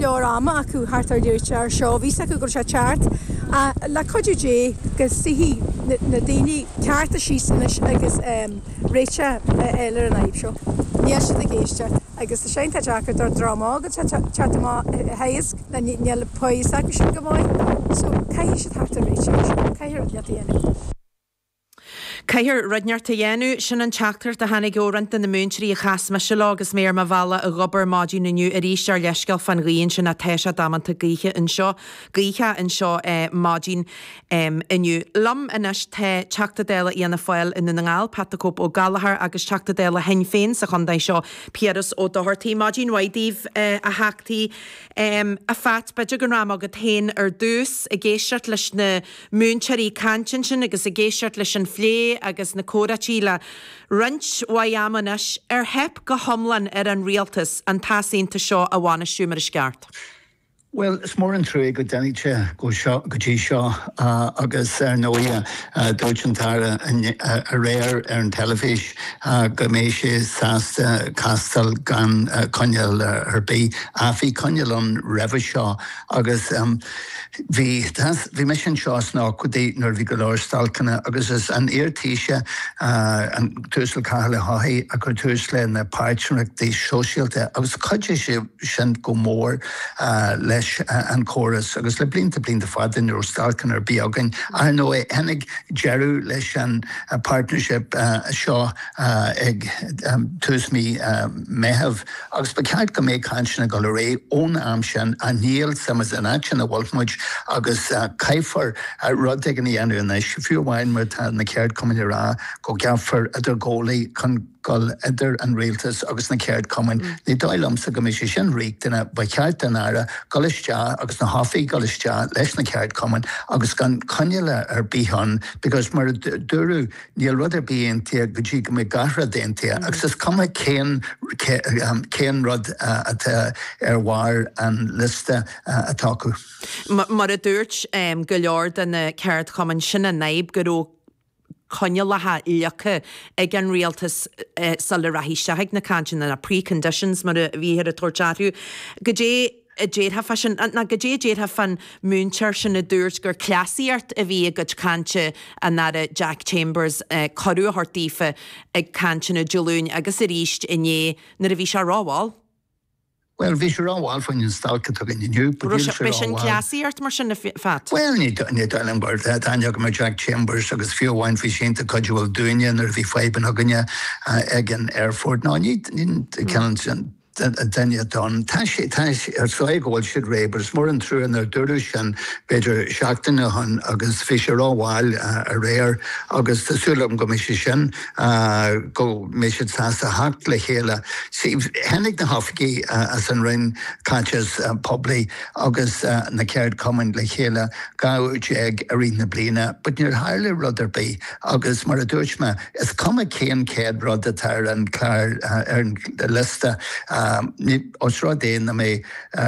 leor ama acu theacht ar réiteach air seo, bhí 's acu go raibh sé ag teacht ach le cuidiú Dé go suífidh na daoine cearta síos anois agus réiteach a fháil ar an fhadhb seo. Níl siad ag éisteacht agus tá sé iontach deacair don dream óg atá ag teacht amach a theagasc nó níl a fhios acu sin go maith so caithfidh siad theacht ar réiteach air seo, caithfidh rud inteacht a dhéanamh. Caithfear rud inteacht a dhéanamh, sin an teachtaireacht a tháinig ó roinnt de na múinteoirí a chas mise leo agus mé ar mo bhealach ag obair maidin inniu arís ár leithscéal fán ghaoth ansin ach tá sé damanta gaoithe anseo, gaothach anseo maidin inniu. Liom anois tá Teachta Dála Fhianna Fáil i nDún na nGall, Pat the Cope Ó Gallchóir agus Teachta Dála Shinn Féin sa chontae seo, Piaras Ó Dochartaigh. Maidin mhaith daoibh, a Theachtaí. A Phat, b'fhéidir go ragham chugat féin ar dtús, ag éisteacht leis na múinteoirí ag caint ansin agus ag éisteacht leis an phlé agus na comhráití le roinnt mhaith ama anois, ar theip go hiomlán ar an rialtas an t-easaontas seo a bhainistiú mar is ceart? Bhuel, is mór an trua go dtáinig sé go dtí seo agus ar ndóigh dúirt an tAire aréir ar an teilifís go mbeidh sé sásta castáil gan coinníoll ar bith. Ach bhí coinníoll ann roimhe seo agus Bhí, bhí mise anseo sna 80idí nuair a bhí go leor stailceanna agus is an iar-Taoiseach, an tUasal Cathal Ó hEochaidh, a chuir tús le na páirtnéireachtaí sóisialta agus chuidigh sé sin go mór leis an chóras agus le blianta, blianta fada ní raibh stailceanna ar bith againn. Ach ar ndóigh tháinig deireadh leis an partnership seo ag tús mí Meitheamh. Agus ba cheart go mbeadh cainteanna ag dul ar aghaidh ón am sin ach níl tá muid san áit sin a bhfuil muid agus caithfear rud éigin a dhéanamh anois, fiú amháin má tá na ceardchumainn ag rá go gceapfar idirghabhálaí chun dul idir an rialtas agus na ceardchumainn. Ní dóigh liomsa go mbeidh sé sin riachtanach, ba cheart don Aire dul isteach agus na hoifigigh dul isteach leis na ceardchumainn agus gan coinníoll ar bith ann because mar a dúradh, Níl rud ar bith aontaithe go dtí go mbeidh gach rud aontaithe agus is cuma cén cén rud atá ar bharr an liosta atá acu. Mar a dúirt go leor de na ceardchumainn, sin an fhadhb, go raibh coinníollacha leagtha ag an rialtas sula rachaí isteach ag na cainteanna, na pre-conditions mar a bhíthear ag tabhairt orthu. Goidé a déarfá fá sin, nó goidé a déarfá fán múinteoir sin a dúirt gur cleasaíocht a bhí i gcuid cainte an Aire Jack Chambers, cuireadh a thabhairt daofa ag cainteanna Dé Luain agus arís inné nuair a bhí sé rómhall. Bhuel, bhí sé rómhall faoin stailc atá againn inniu, but níl sé rómhall. B'shin cleasaíocht mar sin, a Phat? Bhuel, ní dóigh liom gur, tá aithne agam ar Jack Chambers agus fiú amháin bhí sé iontach cuidiúil dúinne nuair a bhí fadhbanna againne ag an aerfort. No, ní, ní, cineál sin. duine atá ann. Tá sé, tá sé, is dóigh go bhfuil siad réidh, but is mór an trua nár dúradh sin b'fhéidir seachtain ó shin agus bhí sé rómhall aréir agus tá súil agam go mbeidh sé sin, go mbeidh siad sásta theacht le chéile. See, tháinig na hoifigigh as an Roinn Caiteachais Poiblí agus na ceardchumainn le chéile 12 uair i rith na bliana but níor tharla rud ar bith agus mar a dúirt mé, Is cuma cén chéad rud atá ar an chlár, ar an liosta, os rud é nach mbeidh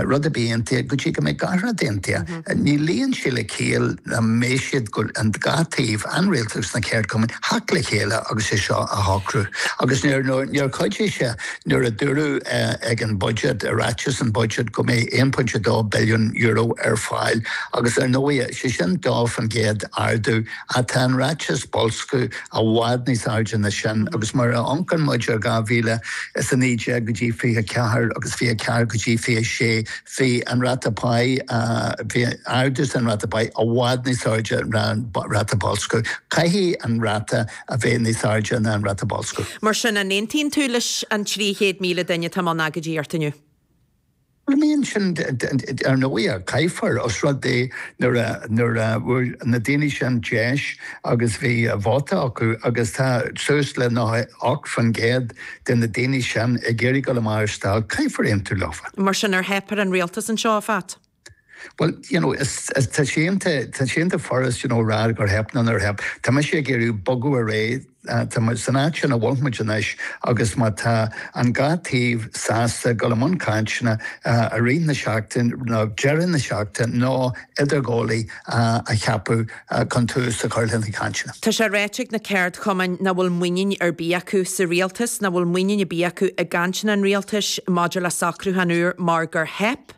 rud ar bith aontaithe go dtí go mbeidh gach rud aontaithe. Ní luíonn sé le ciall nach mbeidh siad, an dá taobh, an rialtas agus na ceardchumainn, theacht le chéile agus é seo a shocrú. Agus níor chuidigh sé nuair a dúradh ag an budget, i ráiteas an budget, go mbeidh €1.2 billiún ar fáil agus ar ndóigh, sé sin 2% ardú Ach tá an ráiteas boilsciú i bhfad níos airde ná sin agus mar a amharcann muid ar 2019 go dtí 24 agus 24 go dtí 26 bhí an ráta páí, bhí ardú san ráta páí i bhfad níos airde ná an ráta boilsciú. Caithfidh an ráta a bheith níos airde ná an ráta boilsciú. Mar sin, an aontaíonn tú leis an 300,000 duine atá i mbun agóidíochta inniu? Bhuel sin, ar ndóigh, caithfear, os rud é nuair a, nuair a bhfuair na daoine sin deis agus bhí vóta acu agus tá suas le 98% de na daoine sin ag iarraidh dul amach ar stailc, caithfear aontú leofa. Mar sin, ar theip ar an rialtas anseo, a Phat? Bhuel, you know, is, is, tá sé iontach, tá sé iontach furast, you know, rá gur theip nó nár theip. Tá mise ag iarraidh bogadh ar aghaidh. Tá muid san áit sin a bhfuil muid anois agus má tá an dhá taobh sásta dul i mbun cainteanna i rith na seachtaine nó deireadh na seachtaine nó idirghabhálaí a cheapadh chun tús a chur le na cainteanna. Tá sé ráite ag na ceardchumainn nach bhfuil muinín ar bith acu sa rialtas, nach bhfuil muinín ar bith acu i gcainteanna an rialtais maidir le socrúchán úr mar gur theip.